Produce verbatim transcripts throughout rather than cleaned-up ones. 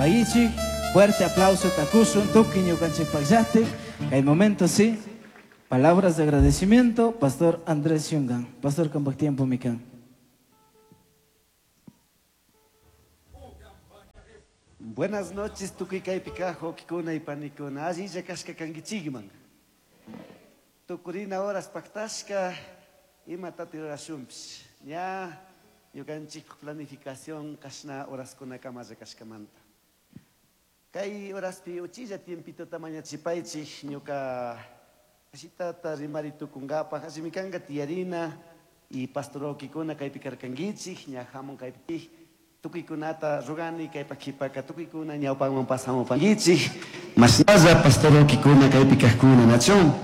Pagichik, fuerte aplauso takusun tuki ñukanchikpaqllati. Kay momento sí. Palabras de agradecimiento, Pastor Andrés Yungan. Pastor, kambak tiempo mikan. Buenas noches, tukuy kaypi kaq wawqikuna y panikuna. Allilla kashka kankichikman. Tukurina horas pactashka, imatata rurashunpish. Ña ñukanchik planificación kashna horaskunakama kashkamanta. Kay horaspi uchilla tiempitota mañachipaychik ñuka ashitata rimari tukunkapaj, allimikanka tiyarina y pastor wawqikuna kaypi karkankichik, ña hamun kaypi tukuykunata rugani kaypa qhipaka tukuykuna ñawpanman pasamupankichik. Mashnalla pastor wawqikuna kaypi kaqkuna nachun.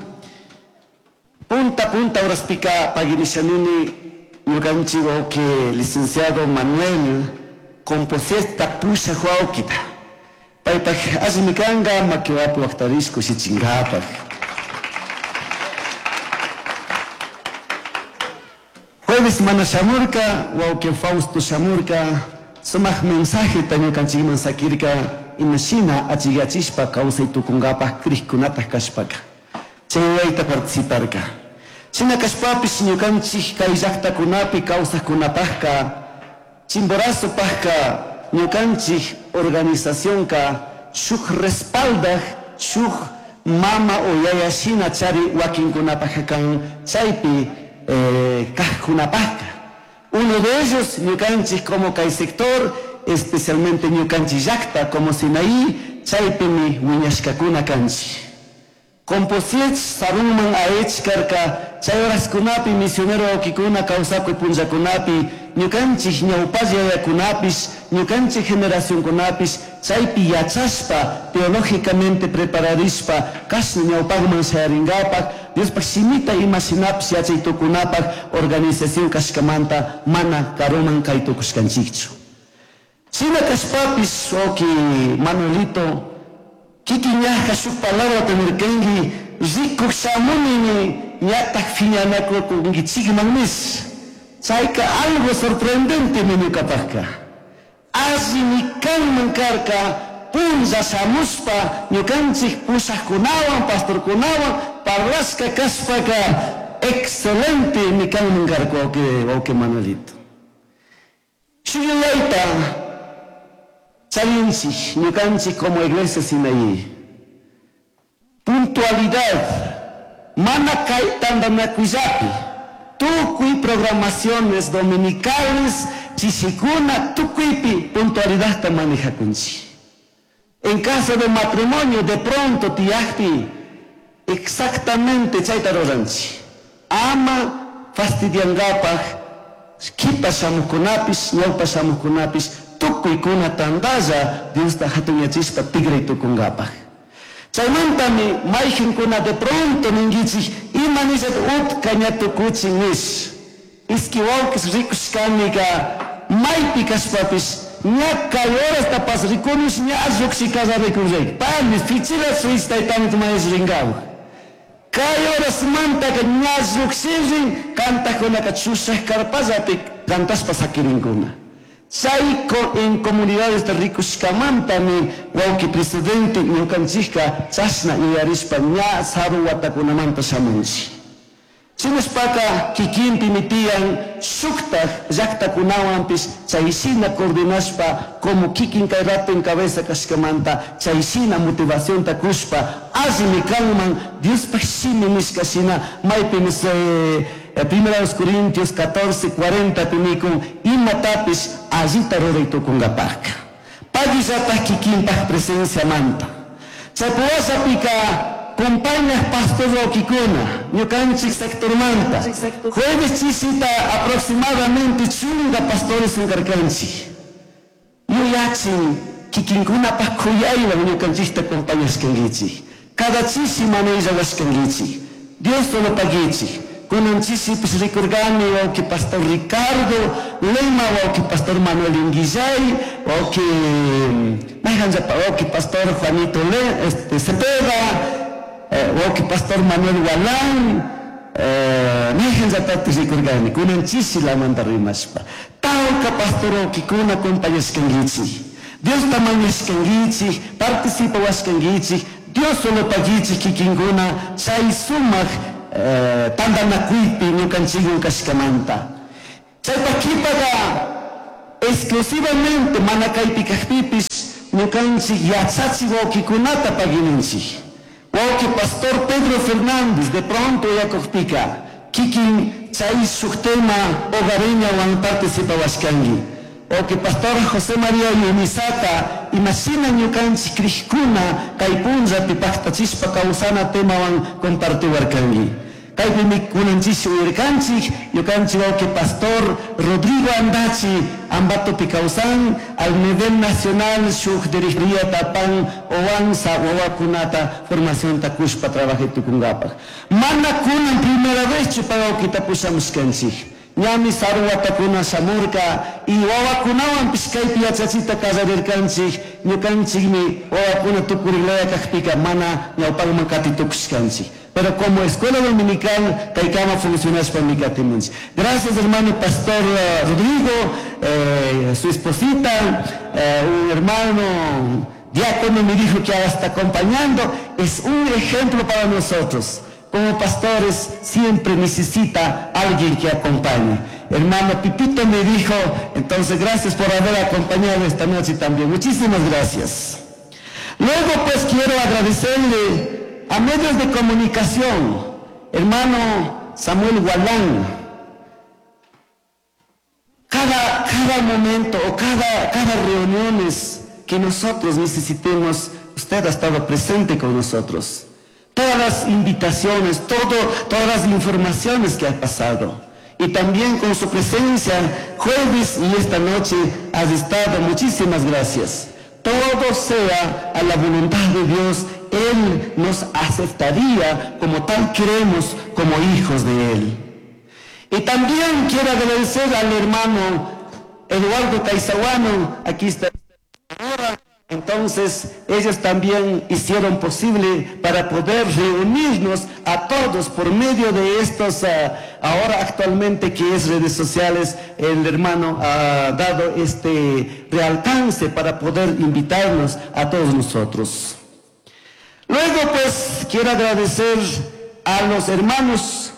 Punta punta horaspika paginishanini ñukanchik wawqi licenciado Manuel Composiesta pushaq wawqita. Paypaj allimikanka makiwapi waqtarish kushichinkapaj. Jueves mana shamurka, wawqi Fausto shamurka, sumaq mensaje ñukanchikman sakirka imashina achikachishpa kawsay tukunkapaj krikkunataj kashpaka. Chay wayta participarka. Shina kashpapish ñukanchik kay llaqtakunapi kawsaqkunapajka, Chimborazopajka ñukanchik organizacionka shuk respaldaj, shuk mama o yaya shina chari wakinkunapajka kan chaypi eh, kaqkunapajka. Uno de ellos, ñukanchik como kay sector, especialmente ñukanchik llaqta como Sinaí, chaypimi wiñashkakuna kanchik. Composiech sarunman aech karka, chay horaskunapi misionero wawqikuna kawsakuy punllakunapi, ñukanchik ñawpalla yayakunapish, ñukanchik generacionkunapish, chaypi yachashpa, teológicamente prepararishpa, kashna ñawpaqman shayarinkapak, Diospaj shimita ima shinapish yachay tukunapaj organización kashkamanta mana karuman kay tukushkanchikchu. Shina kashpapish, wawqi Manuelito, kikin ñajka shuk palabrata nirkanki, rikuq shamunimi ñataq phiñanakukunkichikman nish. Chayka algo sorprendente ñuqapaqka. Allimi kanman karka punlla shamushpa ñukanchik pushaqkunawan, pastorkunawan parlashka kashpaka excelente mi kanman karka wawqi, wawqi Manuelito. Shuyayta charinchik ñukanchik como iglesia Sinaí. Puntualidad, mana kay tantanakuyllapi, tukuy programaciones dominicales, chishikuna, tukuypi puntualidadta manejakunchik. En caso de matrimonio, de pronto tiyakpi, exactamente chayta ruranchik. Ama fastidiankapaj, kipa shamuqkunapish, ñawpa shamuqkunapish, tukuykuna tantalla Diosta hatunyachishpa tigray tukunkapaj. Chaymantami mayqinkuna de pronto ninkichik, ima nishat utka ña tukuchin nish. Iski wawqis rikushkanika maypi kashpapish ña kay horastapas rikunish ña lluqshi kallarikun Pani fichila suis taytamit mayish rinkawaj. Kay horasmantaka ña lluqshirin kantaqkunaka chushaq karpallapi kantashpa sakirinkuna. Chay en comunidades rikushkamantami wawqi presidente ñukanchikka chashna yuyarishpa ña saru watakunamanta shamunchik. Shinashpaka kikinpimi tiyan shuktaj llaqtakunawanpish chayshina coordinashpa como kikin kay rato en cabeza kashkamanta chayshina motivacionta kushpa allimi kanman Diospaj shimi nishka shina maypimi eh, Primera los Corintios catorce cuarenta pinikun imatapish allita ruray tukunkapajka. Pagillataj kikinpaj presenciamanta. Chaypuwashapika compañas pastor wawqikuna ñukanchik sectormanta jueves chisita aproximadamente chunga pastores karkanchik. Yuyachin kikinkunapaj khuyaywan ñukanchikta compañashkankichik. Cada chishi manillawashkankichik. Dios solo pagichik. Kunan chisipis rikurkani wawqi pastor Ricardo Lema, wawqi pastor Manuel Inguillay, wawqi mayqanllapa wawqi pastor Juanito Le, este, Cepeda, eh, wawqi pastor Manuel Walán, eh, mayqanllatapis rikurkani kunan chishi lamanta rimashpa. Tawka pastor wawqikuna compañashkankichik. Diosta mañashkanguichik, participawashkanguichik, Dios solo paguichik kikinkuna chay sumak eh, tantanakuypi ñukanchikwan kashkamanta. Chaypa kipaqa exclusivamente mana kaypi kajpipish ñukanchik yachachik wawkikunata paguininchik. Wawki pastor Pedro Fernández de pronto yakukpika kikin chay shuk tema hogareñawan participawashkanki. Wawki pastor José María Yumisata imashina ñukanchik krikuna kay punllapi paktachishpa kawsana temawan compartiwarkanki. Kaypimi kunanchish uyarkanchik ñukanchik wawki pastor Rodrigo Andachi Ambatopi kawsan al nivel nacional shuk dirigiría tapan owansa wawakunata formacionta kushpa trabajay tukunkapaj. Mana kunan primera vez chu pay wawkita pushamushkanchik. Ñami saru watakuna shamurka y wawakunawanpish kaypi yachachita kallarirkanchik ñukanchikmi wawakuna tukuriklaya kakpika mana ñawpakman kati tukushkanchik. Pero como escuela dominical kaykama funcionashpami katimunchik. Gracias hermano pastor eh, Rodrigo, eh, su esposita, eh, un hermano diácono me dijo que ahora está acompañando. Es un ejemplo para nosotros. Como pastores siempre necesita alguien que acompañe. Hermano Pipito me dijo, entonces gracias por haber acompañado esta noche también. Muchísimas gracias. Luego pues quiero agradecerle a medios de comunicación, hermano Samuel Gualán. Cada, cada momento o cada, cada reuniones que nosotros necesitemos, usted ha estado presente con nosotros. Todas las invitaciones, todo, todas las informaciones que ha pasado. Y también con su presencia, jueves y esta noche has estado. Muchísimas gracias. Todo sea a la voluntad de Dios, Él nos aceptaría como tal queremos, como hijos de Él. Y también quiero agradecer al hermano Eduardo Caizaguano, aquí está. Entonces, ellos también hicieron posible para poder reunirnos a todos por medio de estos, uh, ahora actualmente que es redes sociales, el hermano ha dado este realcance para poder invitarnos a todos nosotros. Luego, pues, quiero agradecer a los hermanos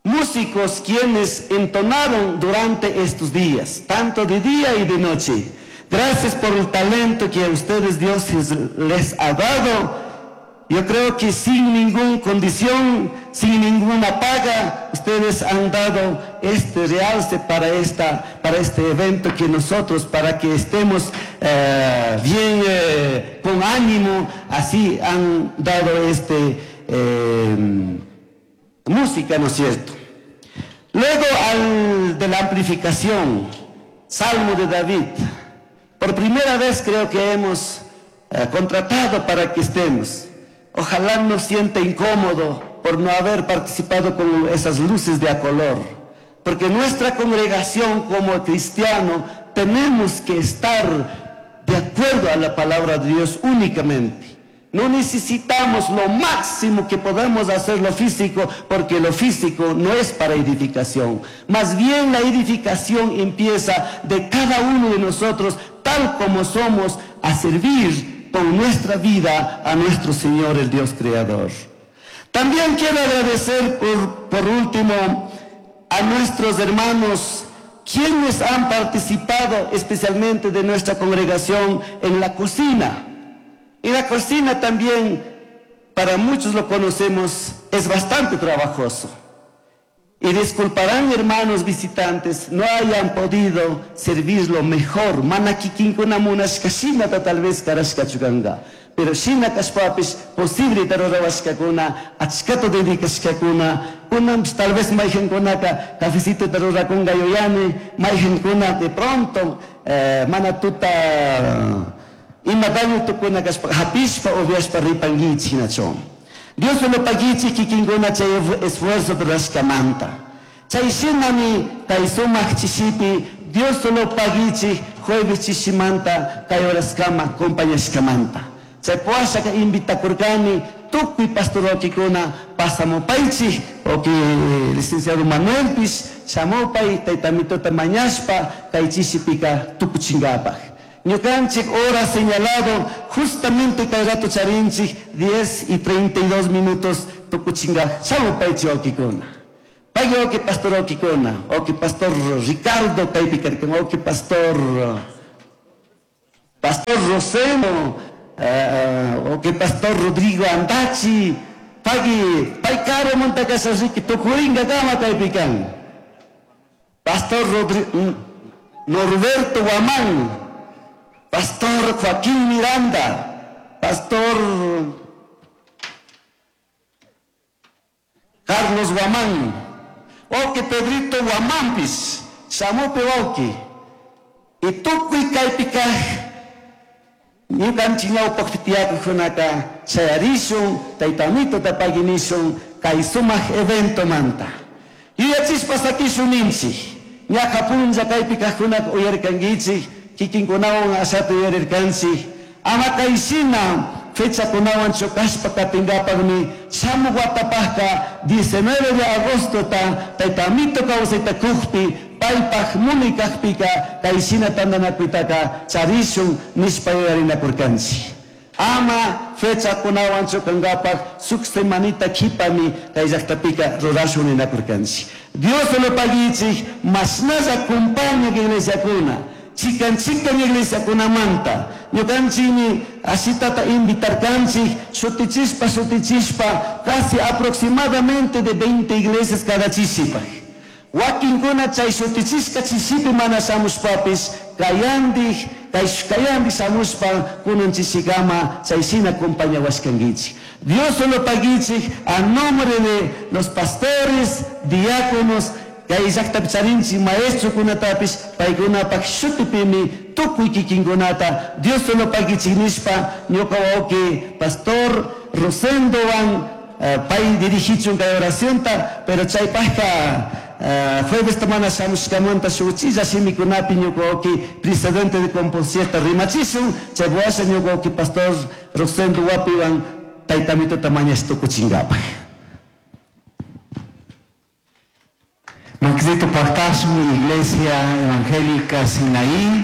músicos quienes entonaron durante estos días, tanto de día y de noche. Gracias por el talento que a ustedes Dios les ha dado. Yo creo que sin ninguna condición, sin ninguna paga, ustedes han dado este realce para, esta, para este evento que nosotros, para que estemos eh, bien eh, con ánimo, así han dado este eh, música, ¿no es cierto? Luego al de la amplificación, Salmo de David. Por primera vez creo que hemos eh, contratado para que estemos. Ojalá no sienta incómodo por no haber participado con esas luces de a color. Porque nuestra congregación como cristiano tenemos que estar de acuerdo a la palabra de Dios únicamente. No necesitamos lo máximo que podemos hacer lo físico, porque lo físico no es para edificación. Más bien la edificación empieza de cada uno de nosotros, tal como somos, a servir con nuestra vida a nuestro Señor, el Dios Creador. También quiero agradecer por, por último a nuestros hermanos quienes han participado especialmente de nuestra congregación en la cocina. Y la cocina también, para muchos lo conocemos, es bastante trabajoso. Y disculparán, hermanos visitantes, no hayan podido servirlo mejor. Mana kikinkuna munashkashinata tal vez karashkachukanga. Pero shina kashpapish posible tarurawashkakuna, achkata dedicashkakuna, kunanpish tal vez mayjankunaka cafecito tarurakunga yuyani, mayjankuna de pronto eh, mana tuta ima daño tukuna kashpa hapishpa upiashpa ripanguichik hinachu. Dios solo paguichik kikinkuna chay esfuerzo rurashkamanta. Chay shinami kay sumak chishipi Dios solo paguichik jueves chishimanta kay horaskama acompañashkamanta. Chay puashaka invitakurkani tukuy pastorokikuna pasamupaychik oki licenciado Manuelpish shamupay taytamitota mañashpa kay chishipika tukuchinkapaj. Ñukanchik hora señalado justamente kay rato charinchik diez y treinta y dos minutos tukuchinga shamupaychik wawkikuna. Pagui wawki pastor wawkikuna, wawki pastor Ricardo kaypi karkan, wawki pastor, pastor Roseno, eh, wawki pastor Rodrigo Andachi, pagui pay karumanta kasha riki tukuringa kama kaypi kan. Pastor Rodri-, Norberto Guamán, Pastor Joaquín Miranda, Pastor Carlos Guamán, wawki Pedrito Guamanpis, shamupi wawki. Y tukuy kaypi kaj ñukanchik ñawpaqpi tiyakujkunaka chayarishun, tayta Amitota paginishun kay sumaq eventomanta. Yuyachispa sakishun ninchik, ñaqa punlla kaypi kajkunaka uyarkankichik, kikinkunawan ashata uyarirkanchik. Ama kayshina fechakunawan chukashpa katingapaqmi shamuq watapaqqa diecinueve de agostota tayta Amito kawsayta kujpi paypaq muni kajpika kayshina tantanakuytaka charishun nishpa yuyarinakurkanchik. Ama fechakunawan chukankapaq suk semanita qhipami kay llaqtapika rurashun ninakurkanchik. Dios lo paguichik mashnalla compaña iglesiakuna, chikan chikan iglesiakunamanta. Ñukanchikmi ashitata invitarkanchik shutichispa shutichispa casi aproximadamente de veinte iglesias cada chishipaj. Wakinkuna chay shutichishka chishipi mana shamushpapis kayandik, kay kayandi shamushpa kunan chishikama chay shina compañawashkankichik. Dios lo paguichik a nombre de los pastores, diáconos, kay llaqtapi charinchik maestrokunatapis paykunapak shutipimi tukuy kikinkunata Dios lo paguichik nishpa ñuka wawqi pastor Rosendowan, eh, pay dirigichun kay oracionta, pero chaypaqqa, eh, jueves mana shamushkamanta shuchilla shimikunapi ñuka wawqi presidente de Componcierta rimachishun, chay washa ñuka wawqi pastor Rosendo wapiwan tayta Amitota mañash tukuchinkapaq. Maxito Pactasmi, Iglesia Evangélica Sinaí,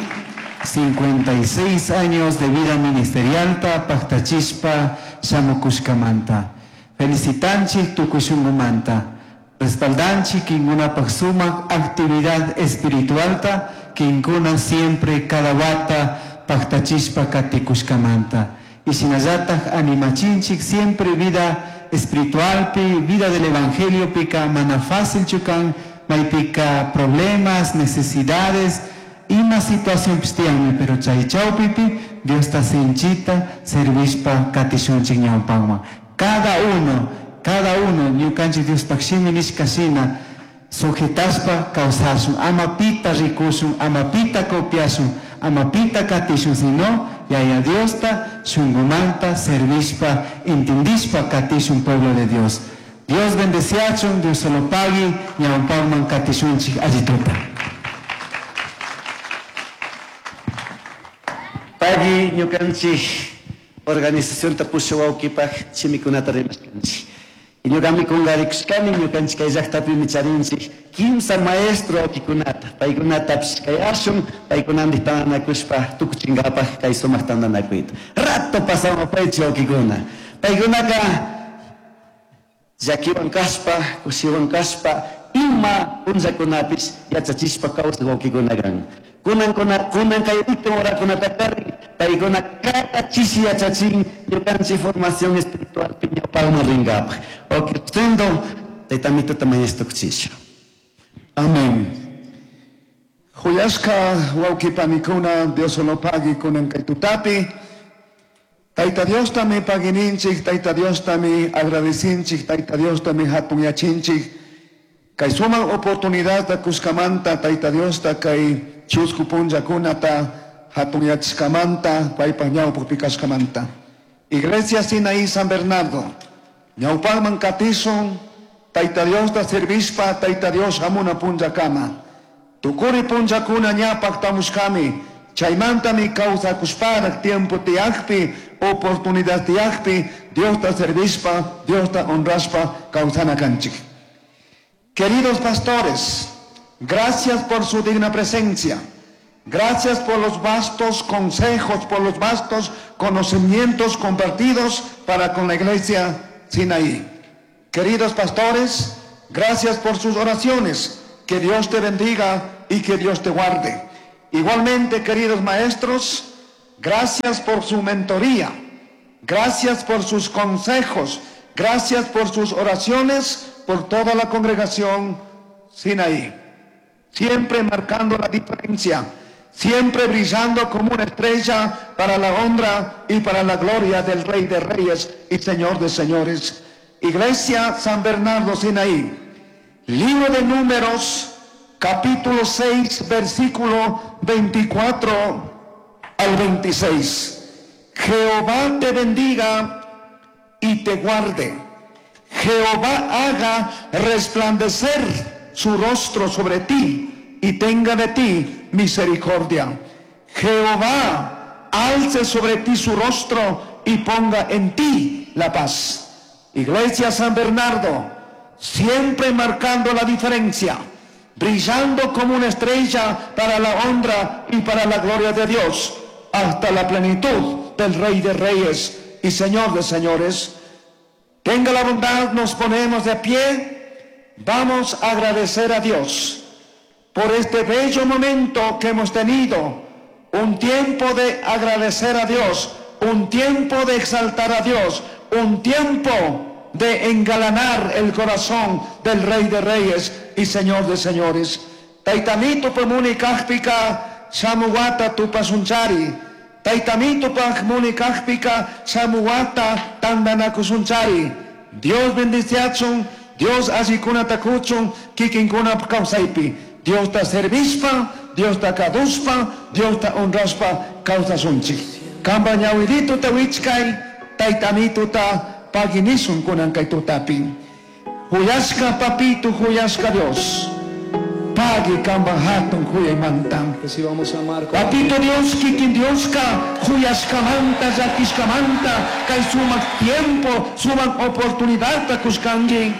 cincuenta y seis años de vida ministerial, Pactachispa, Shamukushkamanta. Felicitanchi tukushungumanta. Respaldanchi kinkuna paksumak actividad espiritual ta, kinkuna siempre cada wata Pactachispa katikushkamanta. Y shinallataj animachinchik siempre vida espiritual pi, vida del evangelio pika mana fácil chukan, maypika problemas, necesidades, ima situación pistianmi, pero chay chawpipi Dios ta sinchita servispa katishunchik ñawpanman. Cada uno, cada uno, ñukanchik Dios pakshimi nishka shina, sujetaspa kawsashun, ama pita rikushun, ama pita copiashun, ama pita katishun, sino yaya Diosta shungumanta servispa, entendispa katishun pueblo de Dios. Dios bendeciachun, Dios solo pagui, ñawpanman katishunchik allituta. Pagui ñukanchik organización tapusha wawkipaj shimikunata rimashkanchik. Y ñukami kungarikushkani ñukanchik kay llaqtapimi charinchik kimsa maestro wawkikunata, paykunatapish kay ashun, paykunandik tantanakushpa tukuchinkapaj kay sumaq tantanakuyta. Rato pasamapaychik wawkikuna. Paykunaka llakiwan kashpa, kushiwan kashpa, ima punllakunapis yachachishpa kawsaq wawkikuna kan. Kunan kuna, kunan kay último horakunata kari, paykuna cada chishi yachachin ñukanchik formación espiritual piñapalma ringapaj. Ok, sendo, tayta Amitota mañashtukuchisha. Amén. Huyashka wawkipanikuna, Dios solo pagui kunan kay tutapi. Tayta Dios tami pagininchik, Tayta Dios tami agradecinchik, Tayta Dios tami hatunyachinchik. Kay suman oportunidad ta kuskamanta, Tayta Dios ta kay chusku punllakunata hatunyachishkamanta, paypaj ñawpaqpi kashkamanta. Iglesia Sinaí San Bernardo, ñawpaqman katishun, Tayta Dios ta servishpa, Tayta Dios hamuna punllakama. Tukuri punllakuna ña paqtamushkami, chaymantami kawsakushparaq tiempo tiyaqpi, oportunidad tiyaqpi, Dios ta servishpa, Dios ta honrashpa kawsana kanchik. Queridos pastores, gracias por su digna presencia. Gracias por los vastos consejos, por los vastos conocimientos compartidos para con la iglesia Sinaí. Queridos pastores, gracias por sus oraciones. Que Dios te bendiga y que Dios te guarde. Igualmente, queridos maestros, gracias por su mentoría. Gracias por sus consejos. Gracias por sus oraciones, por toda la congregación Sinaí. Siempre marcando la diferencia, siempre brillando como una estrella para la honra y para la gloria del Rey de Reyes y Señor de Señores. Iglesia San Bernardo Sinaí, libro de Números, capítulo seis, versículo veinticuatro al veintiséis. Jehová te bendiga y te guarde. Jehová haga resplandecer su rostro sobre ti y tenga de ti misericordia. Jehová alce sobre ti su rostro y ponga en ti la paz. Iglesia San Bernardo, siempre marcando la diferencia, brillando como una estrella para la honra y para la gloria de Dios, hasta la plenitud del Rey de Reyes y Señor de Señores. Tenga la bondad, nos ponemos de pie, vamos a agradecer a Dios por este bello momento que hemos tenido, un tiempo de agradecer a Dios, un tiempo de exaltar a Dios, un tiempo de engalanar el corazón del Rey de Reyes y Señor de Señores. Taitamito pamunikajpika shamuwata tupasunchari. Taitamito pamunikajpika shamuwata tandanakusunchari. Dios bendiciachun, Dios allikunata kuchun, kikinkuna kawsaypi. Dios ta servispa, Dios ta kaduspa, Dios ta honraspa kawsasunchik. Kamba ñawirito ta wichkay, taitamito ta paginisun kunan kay tutapi. Huyashka papito, huyashka Dios. Pagi kamba hatun huyaymanta. Recibamos a Marco. Papito Dios, kikin Dioska, huyashka manta, yakishka manta, kay sumak tiempo, sumak oportunidad ta kushkangi.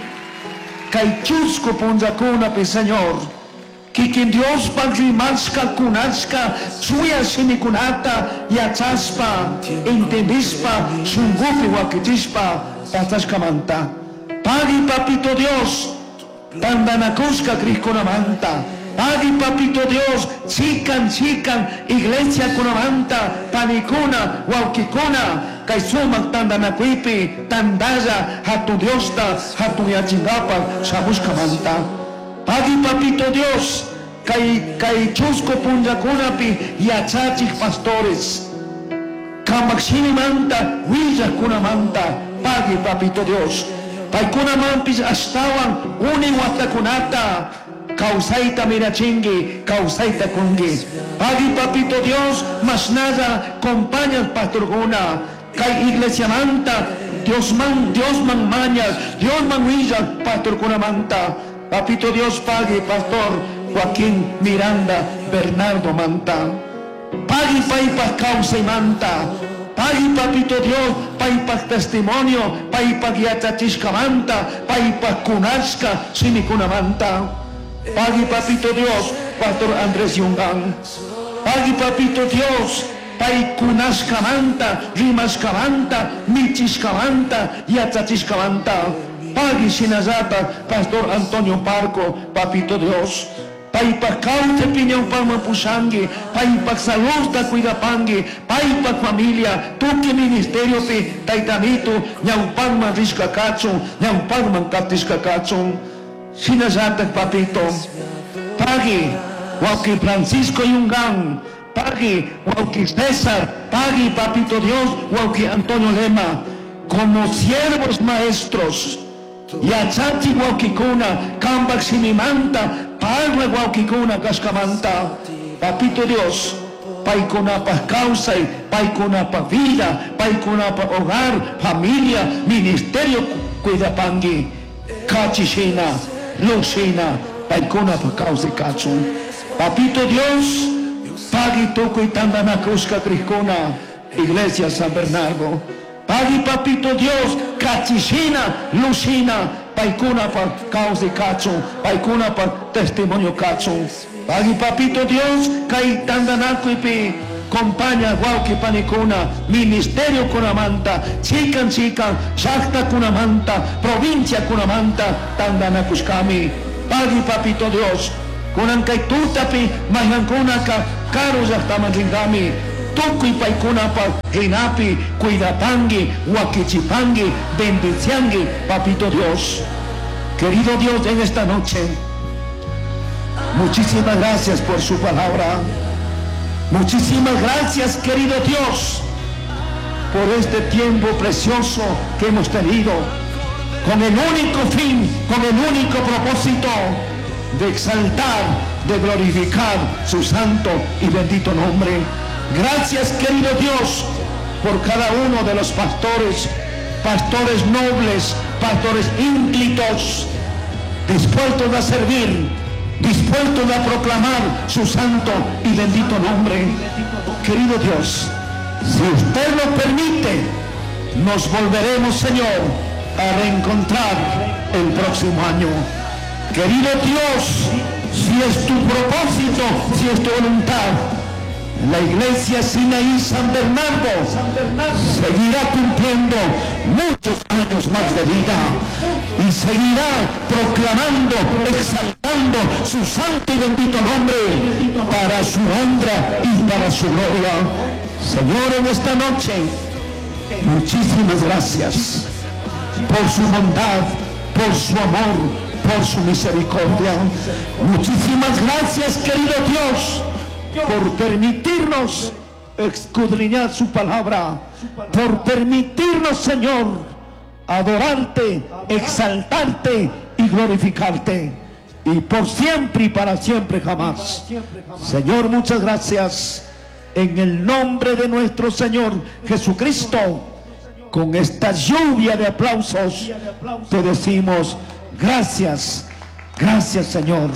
Kay chusco punjakunapi, Señor. Kikin Dios pagrimashka kunashka, suya shimikunata, yachaspa, entendispa, shungupi wakichispa, pasashka manta. Pagi papito Dios, tandanakushka krishkunamanta. Pagi papito Dios, chikan chikan, iglesia kunamanta, panikuna, wawkikuna, kay sumak tandanakuipi, tandaya, hatu Diosta, hatu yachingapa, shamushka manta. Pagi papito Dios, kay, kay chusco punjakunapi, yachachik pastores, kamakshini manta, willakunamanta, pagi papito Dios. Paykunamanpis ashtawan uni watakunata, kawsayta mirachingi, kawsayta kungi. Pagi papito Dios, masnalla compañas pastorkuna, kay iglesia manta, Dios man, Dios man mañas, Dios man willa pastorkunamanta. Papito Dios pagi pastor Joaquín Miranda Bernardo manta. Pagi paypaj kawsaymanta. Pagi papito Dios paypaj testimonio, paypaj yachachishkamanta, paypaj kunashka shimikunamanta. Pagi papito Dios, pastor Andrés Yungán. Pagi papito Dios, paykunashkamanta, rimashkamanta, michishkamanta, yachachishkamanta. Pagi shinallata, pastor Antonio Parco, papito Dios. Paypaj kawsay piñawpaqman pushanki, paypaj saludta cuidapanki, paypaj familia, tukuy ministeriopi, taytamitu, ñawpaqman rishka kachun, ñawpaqman katishka kachun. Shinallatak papito, pagi wawqi Francisco Yungán, pagi wawqi César, pagi papito Dios, wawqi Antonio Lema, como siervos maestros, yachachi wawqikuna, kambak shimimanta, parla wawqikuna kashkamanta. Papito Dios, paykunapaj kawsay, paykunapaj vida, paykunapaj hogar, familia, ministerio cuidapanki, kachishina, lushina, paykunapaj kawsay kachun. Papito Dios, pagi tukuy tandanakushka krishkuna, Iglesia San Bernardo. Pagi papito Dios, kachishina, lushina, paykunapaj kawsay kachun, paykunapaj testimonio kachun. Pagui papito Dios, kay tandanakuypi compaña wawqi panikuna, ministerio kunamanta, chikan chikan, llaqta kunamanta, provincia kunamanta, tandanakushkami. Pagui papito Dios, kunan kay tutapi mayqankunaka karu llaqtaman ringami. Tukuy paykunapaq rinapi cuidapangi, wakichipangi, bendiciangi, papito Dios. Querido Dios, en esta noche, muchísimas gracias por su palabra. Muchísimas gracias, querido Dios, por este tiempo precioso que hemos tenido, con el único fin, con el único propósito de exaltar, de glorificar su santo y bendito nombre. Gracias, querido Dios, por cada uno de los pastores, pastores nobles, pastores ínclitos, dispuestos a servir, dispuestos a proclamar su santo y bendito nombre. Querido Dios, si usted lo permite, nos volveremos, Señor, a reencontrar el próximo año. Querido Dios, si es tu propósito, si es tu voluntad, la iglesia Sinaí San Bernardo seguirá cumpliendo muchos años más de vida y seguirá proclamando, exaltando su santo y bendito nombre para su honra y para su gloria. Señor, en esta noche, muchísimas gracias por su bondad, por su amor, por su misericordia. Muchísimas gracias, querido Dios, por permitirnos escudriñar su palabra, por permitirnos, Señor, adorarte, exaltarte y glorificarte, y por siempre y para siempre jamás. Señor, muchas gracias. En el nombre de nuestro Señor Jesucristo, con esta lluvia de aplausos, te decimos gracias, gracias, Señor.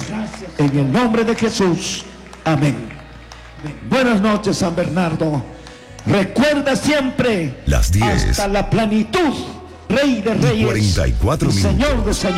En el nombre de Jesús. Amén. Buenas noches, San Bernardo. Recuerda siempre Las diez hasta la plenitud, Rey de Reyes cuarenta y cuatro y Señor de minutos. Señores.